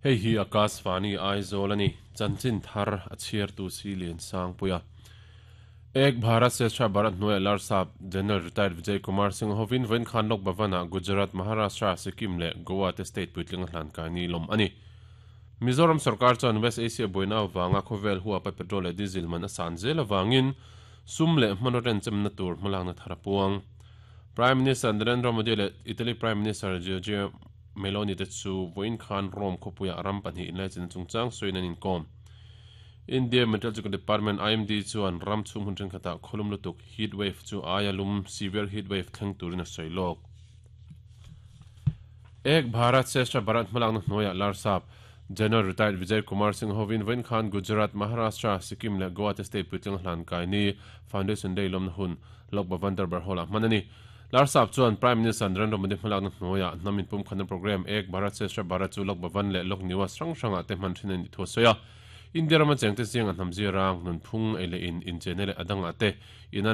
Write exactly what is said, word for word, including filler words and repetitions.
Hei hi Akashvani Aizawl ani chanchin thar a chhiar tu si lian sang puia Ek Bharat Shreshtha Bharat hnuaia Larsap General Retired Vijay Kumar Singh hovin vawiin khan Lok Bhavan-ah Gujarat, Maharashtra, Sikkim leh Goa te state puitling a hlan kai ni lawm a ni. Mizoram sarkar chuan West Asia buaina avanga khawvel huapa petrol leh diesel man a san zel avangin sum leh hmanraw renchemna tur hmalakna thar a puang. Prime Minister Narendra Modi leh Italy Prime Minister Giorgia Meloni te chu vawiin khan Rome khawpuiah ram pahnih inlaichin chungchang sawiin an inkawm. India Meteorological Department I M D chuan ram chhung hun thenkhatah khawlum lutuk, heat wave, chu aia lum, severe heat wave, thleng turin a sawi lawk. Ek Bharat Shreshtha Bharat hmalakna hnuaiah Larsap General Retired Vijay Kumar Singh hovin vawiin khan Gujarat, Maharashtra, Sikkim leh Goa te state puitling hlan kai ni, Foundation Day lawmna hun Lok Bhavan Darbar Hall-ah hman a ni. Larsap chuan Prime Minister Narendra Modi hmalakna hnuaiah hnam inpumkhatna programme Ek Bharat Shreshtha Bharat chu Lok Bhavan leh Lok Niwas hrang hrangah te hman thin a nih thu a sawi a. India rama chengte zinga hnam zirang, nunphung, ei leh in, inchena leh a dangah te inan